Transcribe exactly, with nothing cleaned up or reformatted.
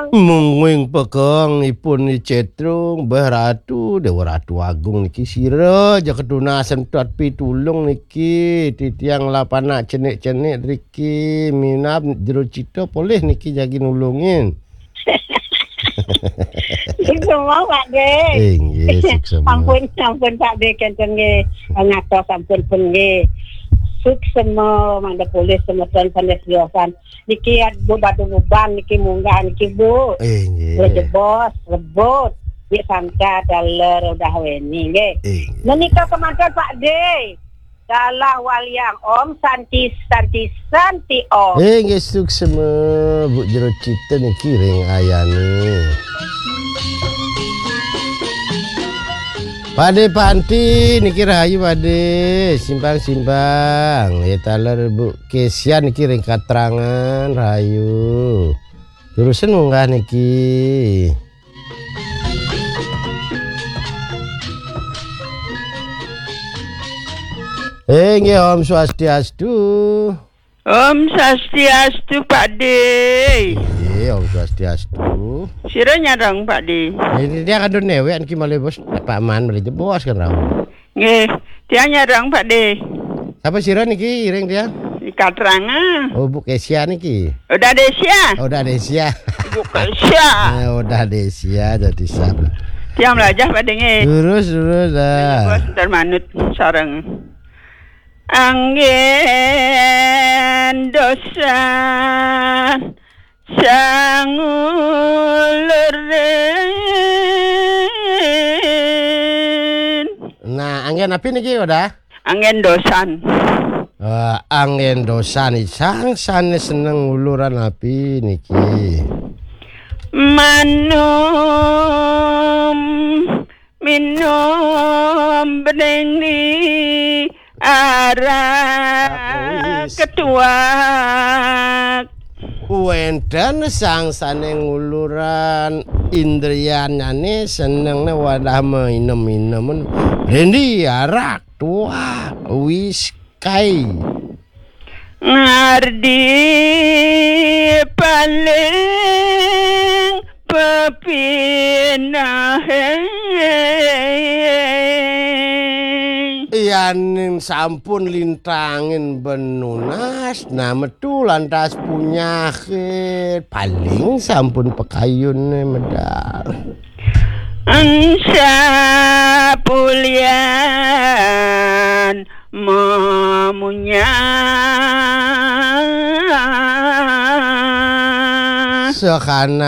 Mungguing pekeng ipun Ni Cetrung, beh Ratu, Dewa Ratu Agung niki sira ja ketunasan tuat pitulung niki, titiang lah panak cenik-cenik riki, minab jero cita polih niki jagi nulungin. Suksema, Pak De. Inggih, suksema. Ampun, ampun, Pak De, kenten nggih. Ngatos ampun pun nggih. Suksema, mangda polih semeton sandya tiosan. Niki Bu Badu Buban niki munggah niki, Bu. Inggih. Rejebos, rebut. Nggih, sangka taler udah weni nggih. Inggih. Menika kemanten, Pak De. Dalah waliang Om Santi, Santi, Santi Om. Eh, nggih, suksema, Bu, jero cita niki ring ayane. Pade Panti niki rahayu, Pade. Simpang-simpang. Ya, taler Bu Kesia niki ring Katrangan rahayu. Terusin munggah niki. Eh, nggih, Om Swastiastu. Om Swastiastu, Pak De. Nggih, Om Swastiastu. Sira nyareng, Pak De? Ini dia kadun newek niki malih bos, Pak Man malih jebos kan rauh. Nggih, tiang nyareng, Pak De. Sapa sira niki iring tiang? Di Katrangan. Oh, Bu Kesia niki. Udah Desia. Oh, udah Desia. Bu Kesia. Eh, udah Desia jadi sapa? Tiang belajar, Pak De, nggih. Lurus, lurus dah. Bos, ntar manut sareng. Anggen dosan sangulurin. Nah, anggen napi niki, udah? Anggen dosan. Eh, anggen dosan, sang sane seneng nguluran napi niki? Manum minum bening ni arak. Wis. Ketuak. Wenten sang sane nguluran indrianane senengne wadah mainem-inemen. Rendi arak, tuak, whisky. Ngardi paling pepinahe. Yaning sampun lintangin benunas, nah metu lantas punyahe, paling sampun pakayune medal. Ensa pulian memunyah. Sakana